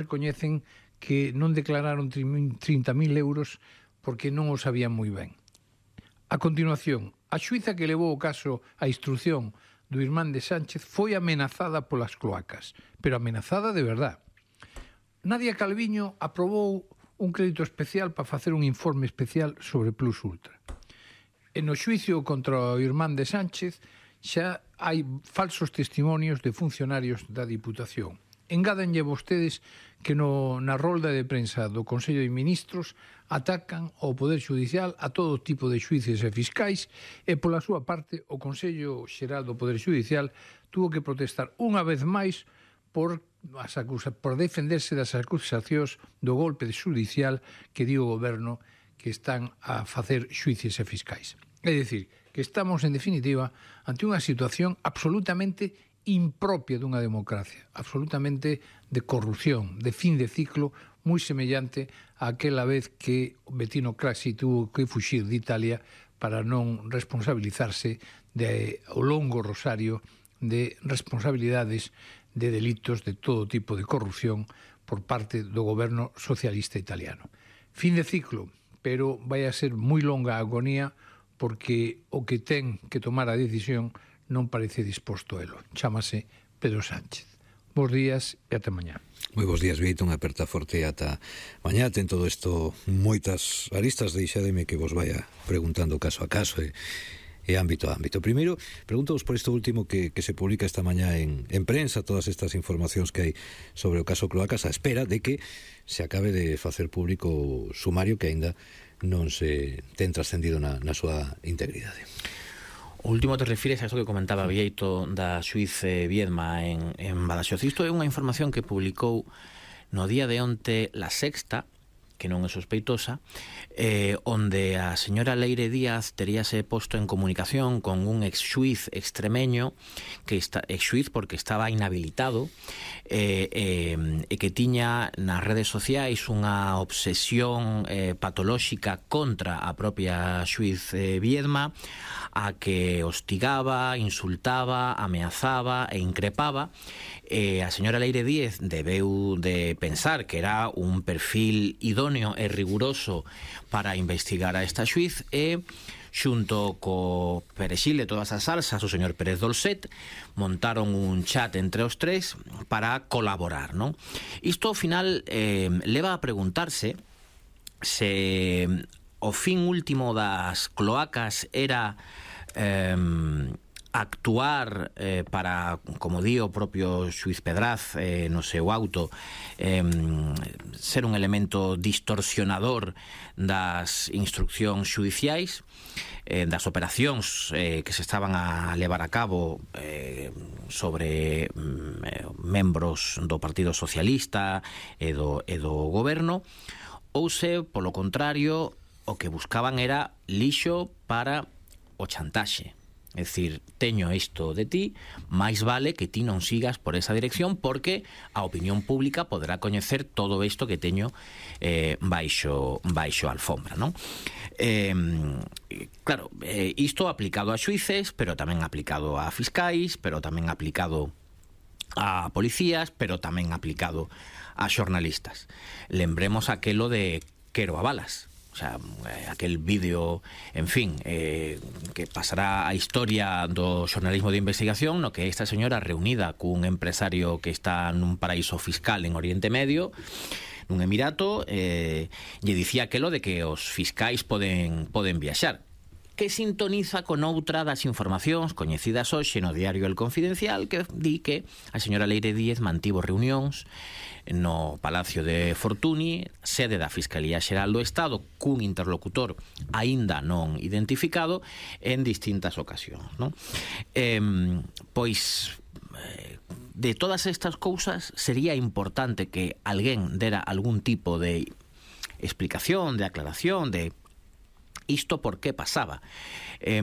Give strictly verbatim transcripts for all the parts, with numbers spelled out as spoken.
recoñecen que non declararon trinta mil euros porque non o sabían moi ben. A continuación, a xuíza que levou o caso á instrucción do irmán de Sánchez foi amenazada polas cloacas, pero amenazada de verdad. Nadia Calviño aprobou un crédito especial para facer un informe especial sobre Plus Ultra. E no xuicio contra o irmán de Sánchez xa hai falsos testimonios de funcionarios da Diputación. Engádanlle vostedes que no, na rolda de prensa do Consello de Ministros atacan ao Poder Xudicial a todo tipo de xuíces e fiscais e, pola súa parte, o Consello Xeral do Poder Xudicial tuvo que protestar unha vez máis por, as acusa, por defenderse das acusacións do golpe xudicial que dio o Goberno que están a facer xuíces e fiscais. É dicir, que estamos, en definitiva, ante unha situación absolutamente impropia dunha democracia, absolutamente de corrupción, de fin de ciclo, moi semellante a aquela vez que Bettino Craxi tuvo que fuxir de Italia para non responsabilizarse de o longo rosario de responsabilidades de delitos de todo tipo de corrupción por parte do goberno socialista italiano. Fin de ciclo, pero vai a ser moi longa a agonía porque o que ten que tomar a decisión non parece disposto a elo. Chámase Pedro Sánchez. Bos días e ata mañá. Moi bos días, Vieito, unha aperta forte ata mañá. Ten todo isto moitas aristas, deixademe que vos vaya preguntando caso a caso e, e ámbito a ámbito. Primeiro, pregunto-vos por isto último que, que se publica esta mañá en, en prensa, todas estas informacións que hai sobre o caso Cloacas, a espera de que se acabe de facer público o sumario que aínda non se ten trascendido na, na súa integridade. O último te refires a isto que comentaba Vieito da xuiz Viedma en, en Badaxoz. Isto é unha información que publicou no día de onte La Sexta, que non é sospeitosa, eh, onde a señora Leire Díaz teríase posto en comunicación con un ex xuiz extremeño, que está ex xuiz porque estaba inhabilitado, e eh, eh, que tiña nas redes sociais unha obsesión eh, patolóxica contra a propia xuiz eh, Viedma, a que hostigaba, insultaba, ameazaba e increpaba. E a señora Leire Díaz debeu de pensar que era un perfil idóneo e riguroso para investigar a esta xuiz e xunto co perexil de todas as salsas, o señor Pérez Dolcet, montaron un chat entre os tres para colaborar, non? Isto ao final eh, leva a preguntarse se o fin último das cloacas era eh, actuar eh, para, como di o propio xuiz Pedraz eh, no seu auto, eh, ser un elemento distorsionador das instruccións xudiciais, eh, das operacións eh, que se estaban a levar a cabo eh, sobre eh, membros do Partido Socialista e do, e do goberno, ou se, polo contrario, o que buscaban era lixo para o chantaxe. É dicir, teño isto de ti, máis vale que ti non sigas por esa dirección porque a opinión pública poderá coñecer todo isto que teño eh, baixo, baixo a alfombra, non? Eh, claro, eh, isto aplicado a xuíces, pero tamén aplicado a fiscais, pero tamén aplicado a policías, pero tamén aplicado a xornalistas. Lembremos aquelo de Quero a balas. O sea, aquel vídeo, en fin, eh, que pasará a historia do xornalismo de investigación, no que esta señora reunida cun empresario que está nun paraíso fiscal en Oriente Medio, nun emirato, eh, lle dicía aquelo de que os fiscais poden, poden viaxar, que sintoniza con outra das informacións coñecidas hoxe no diario El Confidencial, que di que a señora Leire Díaz mantivo reunións no Palacio de Fortuny, sede da Fiscalía Xeral do Estado, cun interlocutor aínda non identificado en distintas ocasións, non? Eh, pois de todas estas cousas sería importante que alguén dera algún tipo de explicación, de aclaración, de isto por que pasaba. Eh,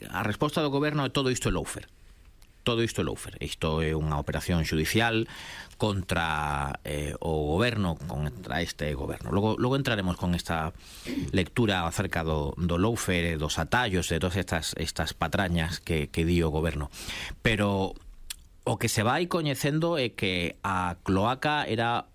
a resposta do goberno é todo isto é lawfare. Todo isto é lawfare. Isto é unha operación judicial contra eh, o goberno, contra este goberno. Logo, logo entraremos con esta lectura acerca do, do lawfare, dos atallos, de todas estas, estas patrañas que, que di o goberno. Pero o que se vai coñecendo é que a cloaca era